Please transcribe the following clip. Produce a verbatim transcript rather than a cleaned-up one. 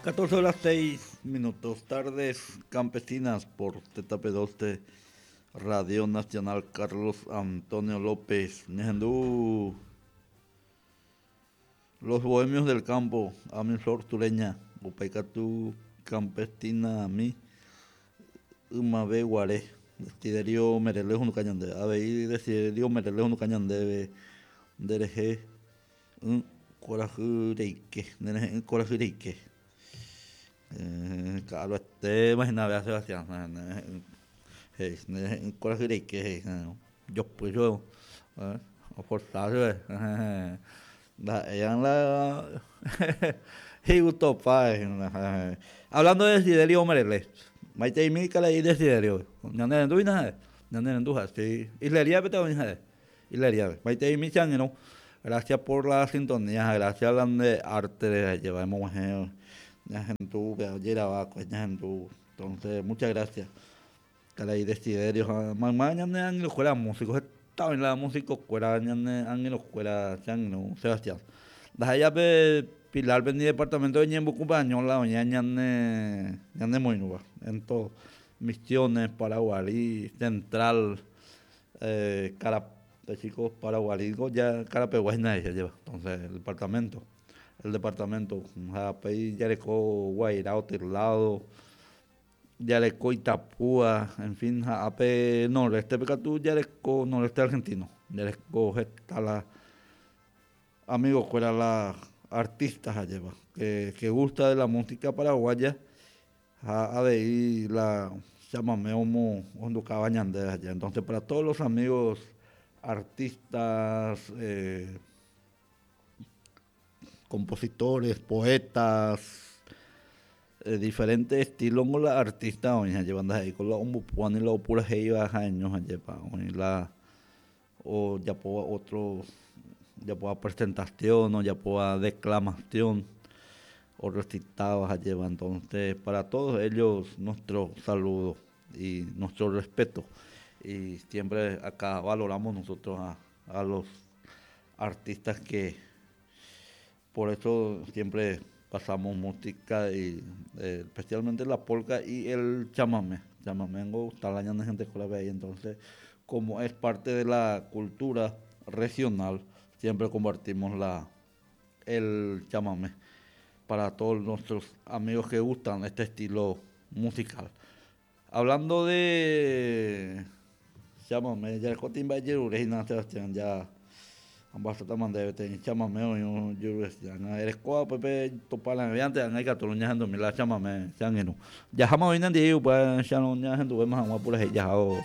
catorce horas seis minutos, tardes campesinas por Z P doce, Radio Nacional Carlos Antonio López. Ñahendu Los Bohemios del Campo, a mi flor sureña, upéikatu campesina mi ymave guare, Desiderio Merelé ohenduka ñandéve, avei Desiderio Merelé ohenduka ñandéve nderehe kuarahy reike, nderehe'ỹ kuarahy reike. Ka'aruete imagina Sebastián, he'i nderehe'ỹ kuarahy reike he'i jopy chupe oforsa chupe ndaha'éi la igustopa. Hablando de Desiderio Merelé, maiteimi karai Desiderio, ñanerendúina ha'e, ñanerendu ha'e, sí, isleríape oĩ ha'e, isleríape. Maiteimi che angirũ, gracias por la sintonía, gracias la nde arte lleva emog̃uahẽ ñahendu ojeravakue ñahendu, entonces muchas gracias karai Desiderio ha mayma ñane angirũkuéra músico, heta oĩ la músico-kuéra ñane angirũkuéra che angirũ Sebastián. Ndaha'éiape Pilarpe ni departamento de Ñembokupaño la oĩva ñane ñanemoirũva en todo, Misiones, Paraguarí, Central, eh, Carape Paraguarí ya Carapeguá hína lleva, entonces el departamento, el departamento, ha upéi jareko Guairá Otelado, jareko Itapúa, en fin, ha ápe noreste katu jareko noreste argentino, jareko heta la amigo-kuéra la artistas lleva, que, que gusta de la música paraguaya ha avei la chamame omo ohendukáva ñandéve allá. Entonces para todos los amigos artistas, eh, compositores, poetas, eh, diferentes estilos la artista oĩ lleva ndaha'éi la ombopúani la opurahéiva ha'eño jepa oĩ la ojapóva otro ojapóva presentación, ojapóva declamación o recitaba lleva. Entonces para todos ellos nuestro saludo y nuestro respeto, y siempre acá valoramos nosotros a, a los artistas, que por eso siempre pasamos música y eh, especialmente la polka y el chamamé. Chamamé gusta la gente con la ahí, entonces como es parte de la cultura regional, siempre compartimos la el chamamé para todos nuestros amigos que gustan este estilo musical. Hablando de chamamé, ya el timba Sebastián ya ambasata mandebe te chamamé o yo erekóa pepe topala antes anga ikatu ñahendumi la chamamé che angirũ. Jaháma oĩ nendive upe ñahenduvéma hag̃ua purahéi jaháo.